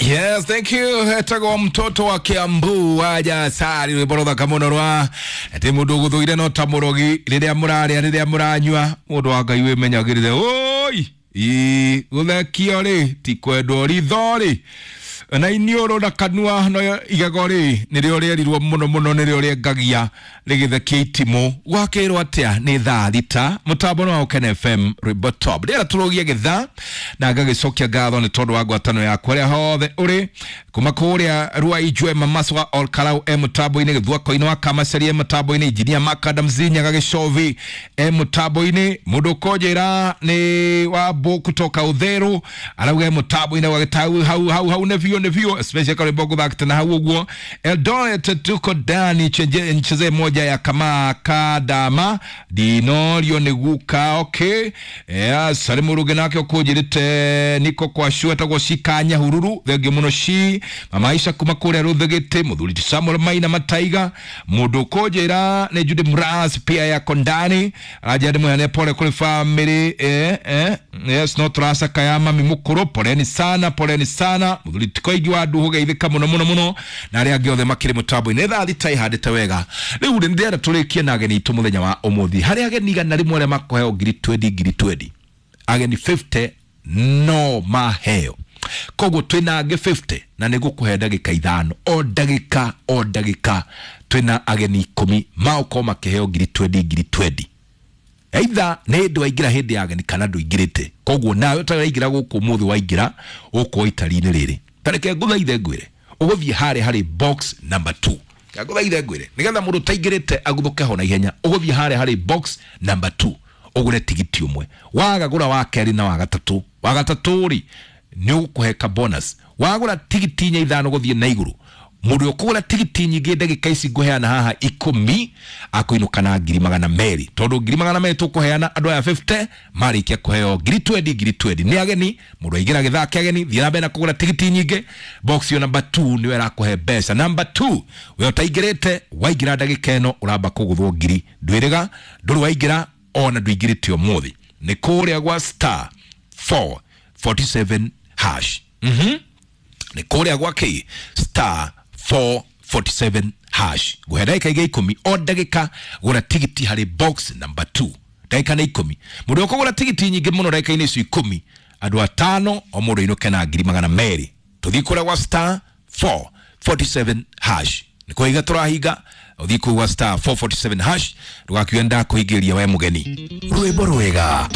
Yes, thank you. Etagwo mtoto wa Kiambu waja sari rwimbo ruthaka muno rwa ati mundu guthuire no ta murogi riria muraria riria muranyua mundu wa Ngai wimenyagirire oi ii guthekio ri ti kwendwo ritho ri na iniũrũ na kanua no igego rĩ nĩrĩo rĩerirwo mũno mũno nĩrĩo rĩengagia rĩgĩthekia itimũ gwakĩrwo atĩa nĩ thaa 6 mũtambo nĩ wa Ũkene FM rwĩmbo top ndĩrera tũrũgie gĩthaa na ngagĩcokia ngatho nĩ tondũ wa ngwatanĩro yaku harĩa hothe ũrĩ kuma kũrĩa Ruai Mamaswa Olkarau e mũtambo-inĩ Gĩthuako-inĩ wa Kamacaria e mũtambo-inĩ Injinia Makadam Zinyaga Gĩcovi e mũtambo-inĩ mũndũ ũkũnjĩra nĩ Wambũ kutoka Ũtheru arauga e mũtambo-inĩ wa gĩtau hau hau hau nĩ biũ nĩ biũ especially karwĩmbo gũthakĩte na hau ũguo. Eldoret tuko ndani ncheze moja ya kama kadama dinorio nĩ guka okay. Yes, harĩ mũrũge nake ũkũnjĩrĩte niko kwa sure etagwo Cikanya Hururu thengio mũno ci mama Aisha kuma kũrĩa Rũthĩgĩtĩ mũthuri ti Samuel Maina Mataiga mũndũ ũkũnjĩra nĩ Judy Mras pia yako ndani aranjĩra ndĩmũheane pole kũrĩ family yes no tũracakaya mami mũkũrũ poleni sana poleni sana mũthuri ti Koigi wa Nduhu geithĩka mũno mũno mũno na arĩa angĩ othe makĩrĩ mũtambo-inĩ thaa 6 ihandĩte wega rĩu rĩ ndĩrenda tũrĩkie na ageni aitũ mũthenya wa ũmũthĩ harĩ ageni 100 arĩa makũheo ngiri 20 ngiri 20 ageni 50 no maheo koguo twĩna angĩ 50 na nĩ ngũkũhe ndagĩka 5 o ndagĩka o ndagĩka twĩna ageni 10 magũkorwo makĩheo ngiri 20 ngiri 20 either nĩ hĩndĩ waingĩra hĩndĩ ya ageni kana ndũingĩrĩte koguo nawe ũtaraingĩra gũkũ ũmũthĩ waingĩra ũkũo itari-inĩ rĩrĩ tareke ngũthaithe ngwĩre ũgũthiĩ harĩa harĩ box number 2 ngũthaithe ngwĩre nĩgetha mũndũ ũtaingĩrĩte aguthũke ho na ihenya ũgũthiĩ harĩa harĩ box number 2 ũgũre tigiti ũmwe wagagũra wa kerĩ na wa gatatũ wa gatatũ rĩ nĩ ũgũkũhe ka bonus wagũra tigiti 4 5 gũthiĩ na igũrũ mũndũ ũkũgũra tigiti nyingĩ ndagĩka ici ngũheana haha 10 akũinũka na ngiri 200 tondũ ngiri 200 tũkũheana andũ aya 50 marĩkia kũheo ngiri 20 ngiri 20 nĩ ageni mũndũ aingĩra gĩthaa kĩa ageni thiĩ na mbere na kũgũra tigiti nyingĩ box yo number 2 nĩyo ĩrakũhe mbeca number 2 we ũtaingĩrĩte waingĩra ndagĩka ĩno ũramba kũgũthwo ngiri ndwĩrĩga ndũrĩ waingĩra ona ndũingĩrĩte ũmũthĩ nĩ kũrĩa gwa star 447 hash nĩ kũrĩa gwa kĩ star 447 hash nguhe ndagĩka ingĩ 10 o ndagĩka gũra tigiti harĩ box number 2 ndagĩka nĩ 10 mũndũ ũkũgũra tigiti nyingĩ mũno ndagĩka-inĩ icio 10 andũ atano o mũndũ ainũke na ngiri 200 tũthiĩ kũrĩa gwa star 447 hash nĩ kũhinga tũrahinga ũthiĩ kũu gwa star 447 hash ndũgakiuge ndakũhingĩria we mũgeni Rwĩmbo rwega.